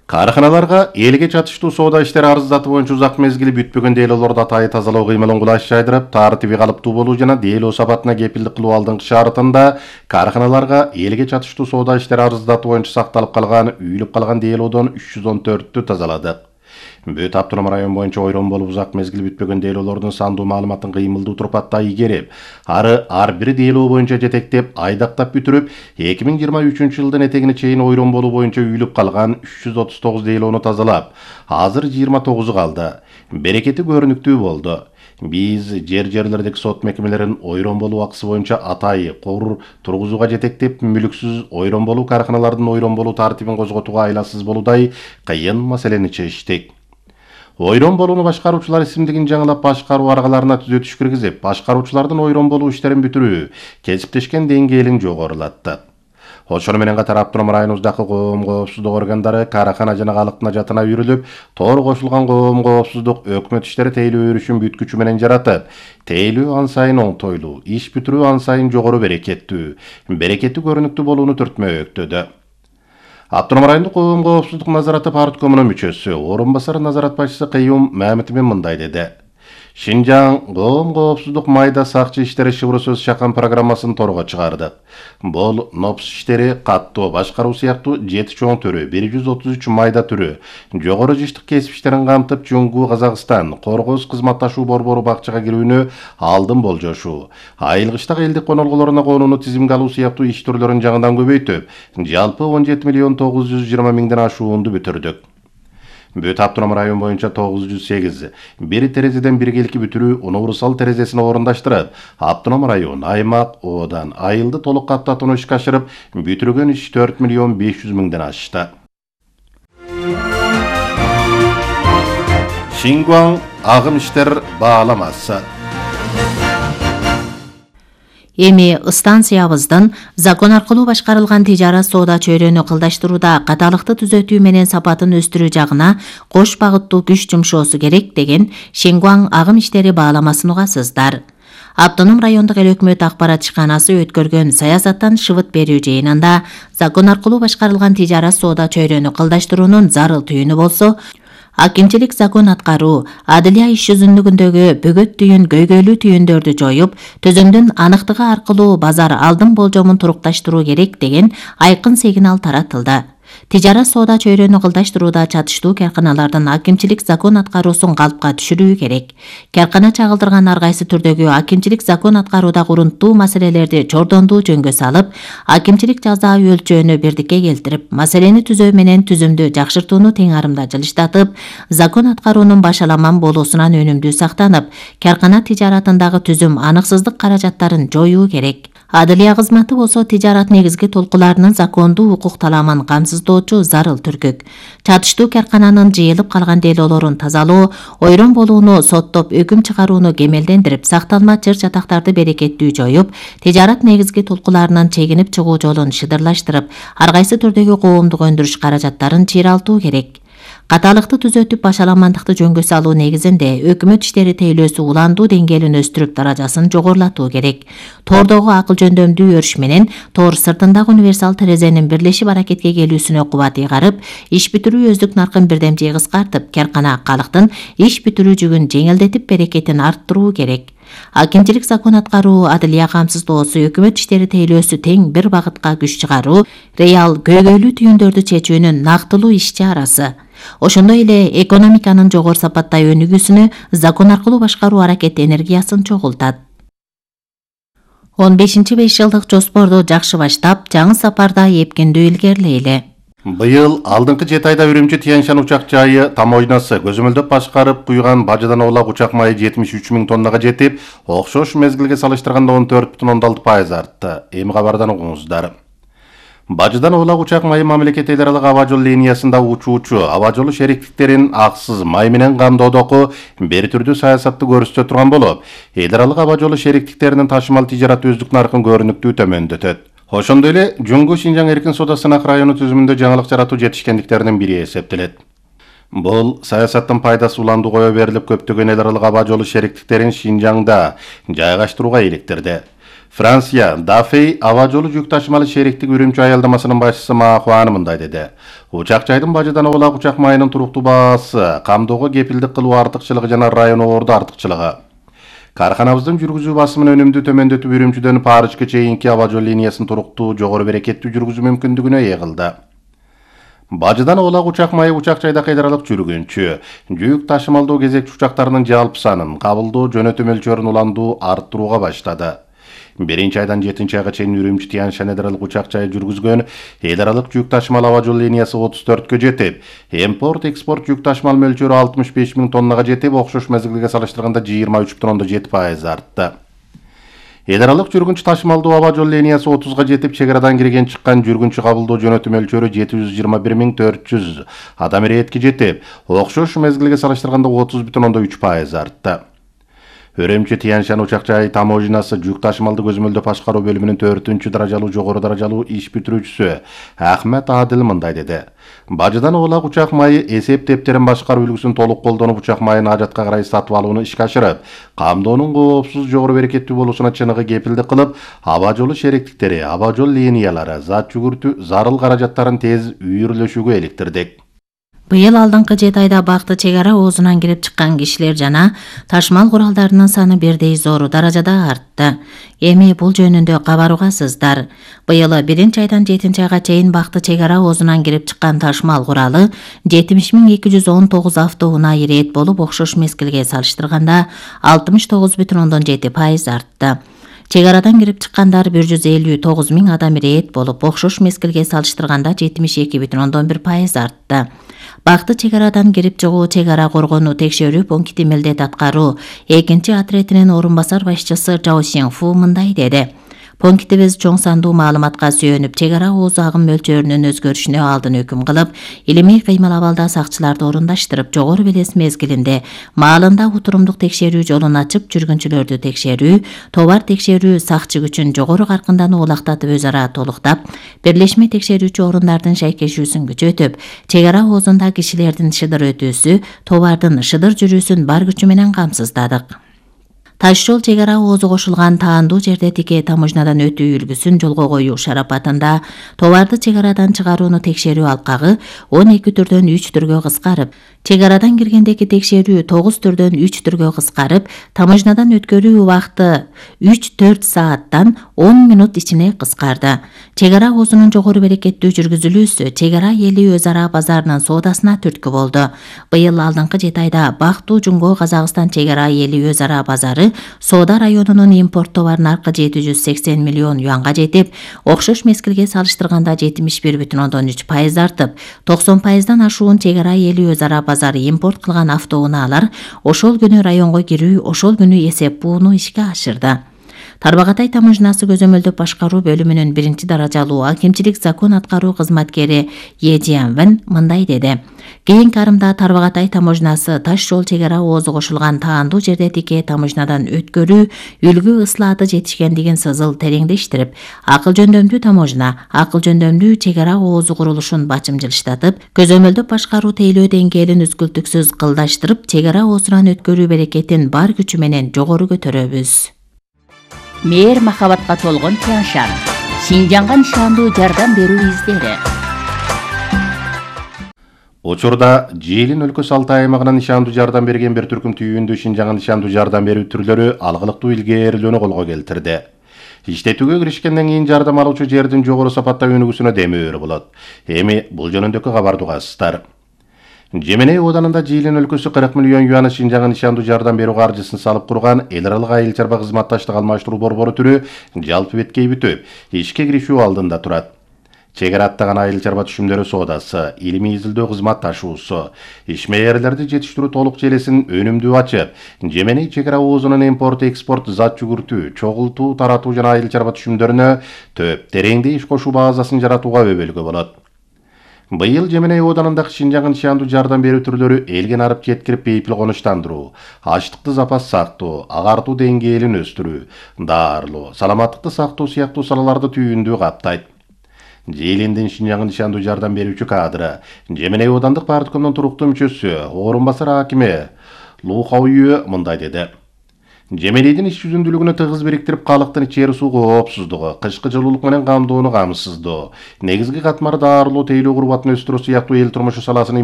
Каарханаларга элге чатыштуу соода иштери арыздаты боюнча узак мезгили бүтпөгөн дейлоолорду атайы тазалоо кыймылын кулаш жайдырып, тартиби калыптуу болуу жана дейлөө сапатына кепилдик кылуу алдыңкы шартында каарханаларга элге чатыштуу соода иштери арыздаты боюнча сакталып калган, үйүлүп калган дейлоодон 314-тү тазаладык. Бүт автоном район боюнча ойрон болуп узак мезгил бүтпөгөн дейлоолордун сандуу маалыматын кыймылдуу турпатта ийгерип, ар бир дейлөө боюнча жетектеп, айдактап бүтүрүп, 2023 жылдын этегине чейин ойрон болуу боюнча үйүлүп калган 339 дейлоону тазалап, азыр 29 калды. Берекети көрүнүктүү болду. Биз жерлердеги сот мекемелерин ойрон болуу акысы боюнча атайы кор тургузууга жетектеп, мүлүксүз ойрон болуу каарханалардын ойрон болуу тартибин козготууга айласыз болуудай кыйын маселени чечтик. Ойрон болууну башкаруучулар исимдигин жаңылап башкаруу аргаларына түзөтүш киргизип, башкаруучулардын ойрон болуу иштерин бүтүрүү, кесиптешкен деңгээлин жогорулатты. Ошону менен катар автоном районубуздагы коом коопсуздук органдары каархана жана калыктын ажатына үйрүлүп, тоор кошулган коом коопсуздук өкмөт иштери тейлөө өрүшүн бүткүчү менен жаратып, тейлөө ан сайын оңтойлуу, иш бүтүрүү ан сайын жогору берекеттүү көрүнүктүү болууну түртмөктөдө. Автоном райондук коом коопсуздук назараты парткомунун мүчөсү, орун басар назарат башчысы Кыйым Мамитовдин мындай деди. Шинжаң коом коопсуздук майда сакчы иштери шыбыр сөз чакан программасын торго чыгардык. Бул НОПС иштери каттоо башкаруу сыяктуу 7 чоң түрү, 133 майда түрү, жогору жыштык кесип иштерин камтып, Жуңгу Казакстан, Коргоз кызматташуу борбору бакчага кирүүнү алдын болжошуу, айылгычтагы элдик конолгулоруна конууну тизимге алуу сыяктуу иш түрлөрүн жаңыдан көбөйтүп, жалпы 17 миллион 920 миңден ашуунду бүтүрдүк. Бүт автоном район боюнча 908, бир терезеден биргелики бүтүрүү универсал терезесин орундаштырып, автоном район, аймак, оодан айылды толук каттатууну ишке ашырып, бүтүргөн иш 4 миллион 500 миңден ашты. Шингуаң агым иштер бааламасы. Эми станциябыздын закон аркылуу башкарылган тижарат соода чөйрөнү кылдаштырууда каталыкты түзөтүү менен сапатын өстүрүү жагына кош багыттуу күч жумшоосу керек деген Шингуаң агым иштери бааламасын угасыздар. Автоном райондук эл өкмөт акпарат ишканасы өткөргөн саясаттан шыбыт берүү жыйынында закон аркылуу башкарылган тижарат соода чөйрөнү кылдаштыруунун зарыл түйүнү болсо, акимчилик закон аткаруу, адылия иш жүзүндүгүндөгү бөгөт түйүн, көйгөйлүү түйүндөрдү жоюп, төзөмдүн аныктыгы аркылуу базар алдын болжомун турукташтыруу керек деген айкын сигнал таратылды. Тижарат соода чөйрөнү кылдаштырууда чатыштуу карканалардын акимчилик закон аткаруусун калпка түшүрүү керек. Каркана чагылдырган ар кайсы түрдөгү акимчилик закон аткарууда урунттуу маселелерди чордондуу жөнгө салып, акимчилик жаза өлчөөнү бирдикке келтирип, маселени түзөө менен түзүмдү жакшыртууну тең арымда жылыштатып, закон аткаруунун башаламан болуусунан өнүмдүү сактанып, каркана тижаратындагы түзүм аныксыздык каражаттарын жоюу керек. Адылия кызматы болсо тижарат негизги толкуларынын закондуу укук таламын камсыздоочу зарыл түркүк. Чатыштуу каркананын жыйылып калган дейлоолорун тазалоо, ойрон болууну соттоп өкүм чыгарууну кемелдендирип, сакталма чыр чатактарды берекеттүү жоюп, тижарат негизги толкуларынын чегинип чыгуу жолун шыдырлаштырып, ар кайсы түрдөгү коомдук өндүрүш каражаттарын чыйралтуу керек. Каталыкты түзөтүп, башаламандыкты жөнгө салуу негизинде өкмөт иштери тейлөөсү уландуу деңгээлин өстүрүп, даражасын жогорулатуу керек. Тордогу акыл жөндөмдүү өрүш менен тор сыртындагы универсал терезенин бирлешип аракетке келүүсүнө кубат ыйгарып, иш бүтүрүү өздүк наркын бирдем жей кыскартып, каркана калыктын иш бүтүрүү жүгүн жеңилдетип, берекетин арттыруу керек. Акимчилик закон аткаруу, адылия камсыздоосу, өкмөт иштери тейлөөсү тең бир багытка күч чыгаруу, реал көйгөйлүү түйүндөрдү чечүүнүн нактылуу иш чарасы. Ошондой эле экономиканын жогору сапатта өнүгүүсүнө закон аркылуу башкаруу аракет энергиясын чогултат. 15-5 жылдык жоспорду жакшы баштап, жаңы сапарда эпкиндүү илгерилейли. Быйыл алдыңкы 7 айда Үрүмчү Тяньшан учак жайы тамойнасы көзөмөлдөп башкарып куйган бажыдан оолак учак майы 73 миң тоннага жетип, окшош мезгилге салыштырганда 14,6% артты. Эми кабардан угуңуздар. Бажыдан оолак учак майы мамлекет эл аралык аба жол линиясында учуучу аба жолу шериктиктерин аксыз май менен камдоодогу бир түрдүү саясатты көрсөтө турган болуп, эл аралык аба жолу шериктиктеринин ташымал тижарат өздүк наркын көрүнүктүү төмөндөтөт. Ошондой эле Жуңгу Шинжаң эркин соода сынак району түзүмүндө жаңылык жаратуу жетишкендиктеринин бири эсептелет. Бул саясаттын пайдасы уланду кое берилип, көптөгөн эл аралык аба жолу шериктиктерин Шинжаңда жайгаштырууга иликтирди. Франция Дафей аба жолу жүк ташымалы шериктик Үрүмчү аялдамасынын башчысы Ма Хуан мындай деди. Учак жайдын бажыдан оолак учак майынын туруктуу баасы, камдоого кепилдик кылуу артыкчылыгы жана райондордо артыкчылыгы. Карханабыздын жүргүзүү басымын өнүмдү төмөндөтүп Үрүмчүдөн Парижге чейинки аба жол линиясын туруктуу, жогору берекеттүү жүргүзүү мүмкүндүгүнө ээ кылды. Бажыдан оолак учак майы учак жайда кыйдаралык жүргүнчү, жүк ташымалдоо кезекчи учактарынын жалпы санын, кабылдоо жөнөтүү мөлчөрүн уланду арттырууга баштады. 1-айдан 7-айга чейин Үрүмчү Тянь-Шань эл аралык учак жайы жүргүзгөн эл аралык жүк ташымал аба жол линиясы 34кө жетип, импорт-экспорт жүк ташымал мөлчөрү 65 000 тоннага жетип, окшош мезгилге салыштырганда 23,7% артты. Эл аралык жүргүнчү ташымалдоо аба жол линиясы 30га жетип, чек арадан кирген чыккан жүргүнчү кабылдоо жөнөтүү мөлчөрү 721 400 адам иретке жетип, окшош мезгилге салыштырганда 30,3% артты. Үрүмчү Тянь-Шань учак жайы таможнасы жүк ташымалды көзөмөлдөп башкаруу бөлүмүнүн 4-даражалуу жогору даражалуу иш бүтүрүүчүсү Ахмет Адил мындай деди. Бажыдан оолак учак майы эсеп тептерин башкаруу үлгүсүн толук колдонуп, учак майын ажатка карай сатып алууну ишке ашырып, камдоонун коопсуз, жогору берекеттүү болуусуна чыныгы кепилдик кылып, аба жолу шериктиктери, аба жол линиялары, зат жүгүртүү зарыл каражаттарын тез үйүрлөшүүгө иликтирдик. Быйыл алдыңкы 7 айда бакты чек ара оозунан кирип чыккан кишилер жана ташмал куралдарынын саны бирдей зор даражада артты. Эми бул жөнүндө кабар угасыздар. Быйыл 1-айдан 7-айга чейин бакты чек ара оозунан кирип чыккан ташмал куралы 70 219 автоунаа ирет болуп, окшош мезгилге салыштырганда 69,7% артты. Чек арадан кирип чыккандар 159 000 адам ирет болуп, окшош мезгилге салыштырганда 72,1% артты. Бакты чек арадан кирип чыгуу чек ара коргонуу текшерүү пункти милдет аткаруу 2-отрядынын орун басар башчысы Жао Синфу мындай деди. Пунктибиз чоң сандуу маалыматка сүйөнүп, чек ара ооз агым мөлчөрүнүн өзгөрүшүнө алдын өкүм кылып, илимий кыймыл абалда сакчыларды орундаштырып, жогору белес мезгилинде маалында утурумдук текшерүү жолун ачып, жүргүнчүлөрдү текшерүү, товар текшерүү сакчы күчүн жогору каркындан оолактатып өз ара толуктап, бирлешме текшерүүчү орундардын шайкешүүсүн күчөтүп, чек ара оозунда кишилердин шыдыр өтүүсү, товардын шыдыр жүрүүсүн бар күчү менен камсыздадык. Таш жол чек ара оозу кошулган таандуу жерде тике таможнадан өтүү үлгүсүн жолго коюу шарапатында товарды чек арадан чыгарууну текшерүү алкагы 12 түрдөн 3 түргө кыскарып, чек арадан киргендеги текшерүү 9 түрдөн 3 түргө кыскарып, таможнадан өткөрүү убакыты 3-4 сааттан 10 минут ичине кыскарды. Чек ара оозунун жогору берекеттүү жүргүзүлүүсү чек ара эли өз ара базарынын соодасына түрткү болду. Быйыл алдыңкы 7 айда Бактуу Жумго Казакстан чек ара эли өз ара базары соода районунун импорт товар наркы 780 миллион юанга жетип, окшош мезгилге салыштырганда 71,3% артып, 90%дан ашуун чек ара эли өз ара базары импорт кылган автоунаалар ошол күнү районго кирүү, ошол күнү эсеп бууну ишке ашырды. Тарбагатай таможнасы көзөмөлдөп башкаруу бөлүмүнүн 1-даражалуу акимчилик закон аткаруу кызматкери Е Жианвен мындай деди. Кийинки арымда Тарбагатай таможнасы таш жол чек ара оозу кошулган таандуу жерде тике таможнадан өткөрүү, үлгү ыслааты жетишкендигин сызыл тереңдештирип, акыл жөндөмдүү таможна, акыл жөндөмдүү чек ара оозу курулушун бачымжылыштатып, көзөмөлдөп башкаруу тейлөө деңгээлин үзгүлтүксүз кылдаштырып, чек ара оозунан өткөрүү берекетин бар күчү менен жогору көтөрөбүз. Мээр махабатка толгон Тянь-Шань, Шинжанга нышандуу жардам берүү издери. Учурда Жээлин өлкөсү Алтай аймагынан нышандуу жардам берген бир түркүм түйүндүү Шинжанга нышандуу жардам берүү түрлөрү алгылыктуу илгээрилөөнү колго келтирди. Иштетүүгө киришкенден кийин жардам алуучу жердин жогору сапаттагы өнүгүүсүнө демөөрү болот. Эми бул жөнүндөгү кабарды угасыздар. Жеменей оданында Жээлин өлкөсү 40 миллион юаны Шинжанга нышандуу жардам берүү каржысын салып курган эл аралык айыл чарба кызматташтык алмаштыруу борбору түрү жалпы беткей бүтүп, ишке киришүү алдында турат. Чек ара аттаган айыл чарба түшүмдөрү соодасы, илимий изилдөө кызматташуусу, ишмээрлерди жетиштирүү толук желесин өнүмдүү ачып, Жеменей чек ара оозунун импорт-экспорт, зат жүгүртүү, чогултуу, таратуу жана айыл чарба түшүмдөрүнө төп тереңде иш кошуу базасын жаратууга өбөлгө болот. Быйыл Жеменей оданындагы Шинжанга нышандуу жардам берүү түрлөрү элге нарып жеткирип бейпил конуштандыруу, ачтыкты запас сактоо, агартуу деңгээлин өстүрүү, даарылоо, саламаттыкты сактоо сыяктуу салаларды түйүндүү каптайт. Жээлиндин Шинжанга нышандуу жардам берүүчү кадры, Жеменей одандык парткомдун туруктуу мүчөсү, орун басар акими Лу Хаоюэ мындай деди. Жемелейдин иш жүзүндүүлүгүнө тыгыз бириктирип, калктын ичери суу коопсуздугу, кышкы жылуулук менен камдоону камсыздоо, негизги катмар дарылоо, тейлөө курбатын өстүрүү сыяктуу эл турмушу саласынын